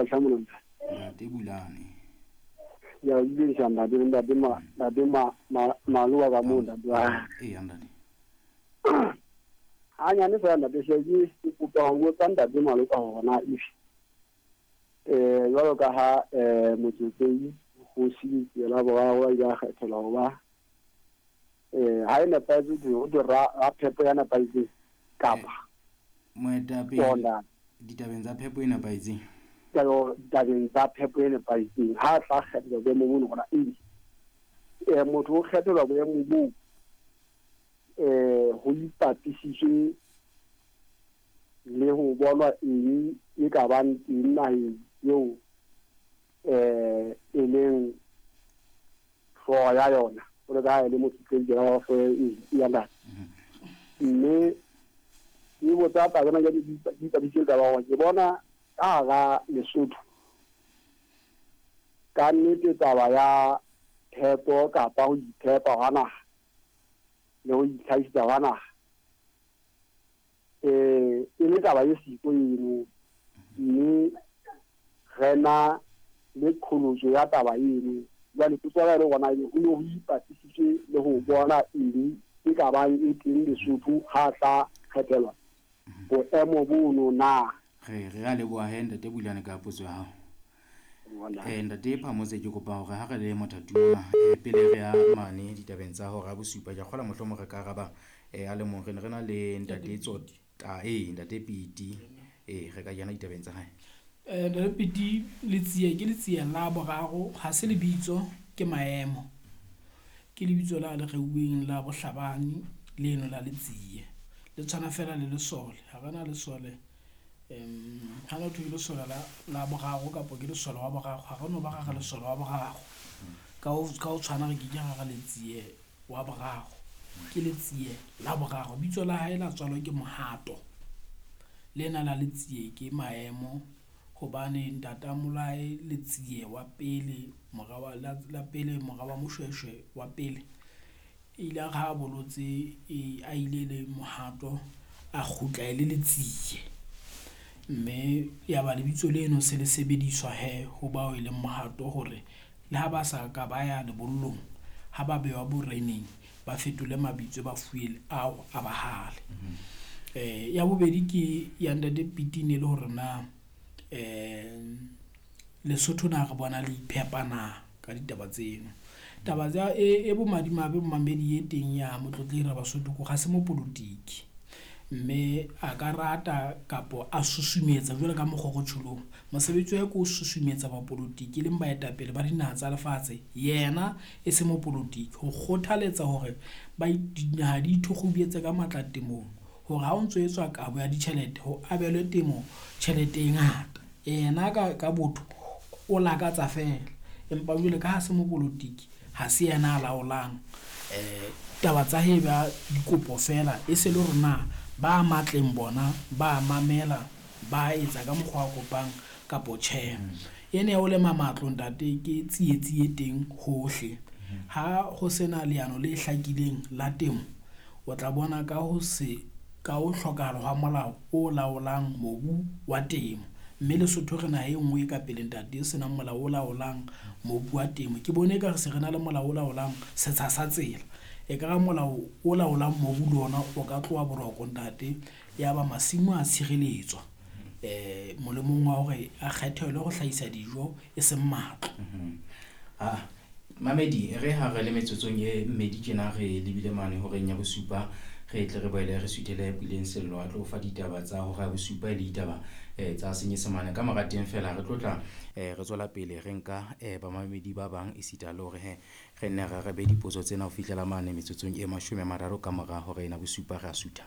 Tlhamolong. Ntate Bulane. Ya ile sa ntate ntate ma ntate ma maloa ka mo ntate wa. Ee ntate. Ha nyane fela ntate se ke kopa ho botsa ntate Maloka hore na if jwalo ka ha Motsotsei kgosi la boraro a ile a kgethelwa ho ba ha e nepahetse ho thwe ra phepo ya nepahetseng kapa moetapele ditabeng tsa phepo e nepahetseng. Ditabeng tsa phepo e nepahetseng ha tla kgethelwa boemo bono hona ebe motho o kgethelwa boemo boo ho ipapisitswe le ho bonwa eng e ka bang teng naheng eo e leng hlooho ya yona jwalo ka ha e le motsotsei wa ya ntate. Mme ke botsa taba ena ke ipapisitse taba hore ke bona ka hara Lesotho ka nnete taba ya phepo kapa ho iphepa hwa naha le ho itlhahisetsa hwa naha e le taba e siko eno, mme re na le qholotso ya taba eno. Jwale potso ya ka e le hore na ho ne ho ipapisitswe le ho bona eng e ka bang e teng Lesotho ha tla kgethelwa boemo bono na. Re a leboha he ntate Bulane ka potso ya hao. Ntate Phamotse ke kopa hore ha re le mothatuma pele re ya mane ditabeng tsa hora bosupa ke kgola mohlomong re ka araba a le mong. Re ne re na le ntate Tsota ntate Piti re ka kena ditabeng tsa hae. Ntate Piti, Letsie ke Letsie la boraro, ha se lebitso ke maemo. Ke lebitso la le reuweng la bohlabani leno la Letsie. Le tshwana fela le lesole, ha re na lesole ha no thwe ke lesole la boraro kapa ke lesole wa boraro, ha re no ba ra re lesole wa boraro. Ka ho tshwana re ke ke ra re Letsie wa boraro, ke Letsie la boraro. Bitso la hae la tswalwa ke Mohato, lena la Letsie ke maemo hobane ntata Molae Letsie wa pele mora wa la pele mora wa Moshweshwe wa pele ile a re ha bolotse a ile le Mohato a kgutla e le Letsie, mme ya ba lebitso leno se le sebediswa he ho bao e leng Mohato hore le ha ba sa ka ba ya lebollong ha ba bewa boreneng ba fetole mabitso ba fuwe ao a bahale. Ya bobedi ke ya ntate Piti ne le hore na Lesotho na re bona le iphepa na ka ditaba tseno. Taba tsa e bomadimabe momamedi e teng ya Motlotlehi Rabasotho ko ga se mopolotiki, mme a ka rata kapo a susumetsa jwalo ka mokgwa o tjholong. Mosebetsi wa hae ke ho susumetsa bapolotiki leng baetapele ba dinaha tsa lefatshe, yena e se mopolotiki, ho kgothaletsa hore ba dinaha di ithokgobetse ka matla temong hore ha o ntso etswa kabo ya ditjhelete ho abelwe temo tjhelete e ngata. Yena ka botho o lakatsa fela, empa jwale ka ha se mopolotiki ha se yena a laolang taba tsa hae ba dikopo fela, e se le hore na ba matleng bona ba mamela ba etsa ka mokgwa a kopang kapo tjhe. Ena ya ho lema matlo ntate ke tsietsi e teng hohle. Ha ho sena leano le hlakileng la temo, o tla bona ka ho se ka ho hlokahala hwa molao o laolang mobu wa temo. Mme Lesotho re naha e nngwe e ka pele ntate e senang molao o laolang mobu wa temo. Ke bone ekare se re na le molao o laolang setsha sa tsela, ekare molao o laolang mobu le ona o ka tloha boroko ntate, ya ba masimo a tshireletswa molemong wa hore a kgethelwe ho hlahisa dijo e seng matlo. Mamedi re ha re le metsotsong e mmedi tjena re lebile mane horeng ya bosupa, re tle re boele re suthele Puleng Sello a tlo fa ditaba tsa hora ya bosupa e le ditaba tsa Senyesemane. Ka mora teng fela re tlotla re tswela pele re nka bamamedi ba bang esita le hore he re nne re arabe dipotso tsena ho fihlela mane metsotsong e 30 ka mora hora ena bosupa re a sutha.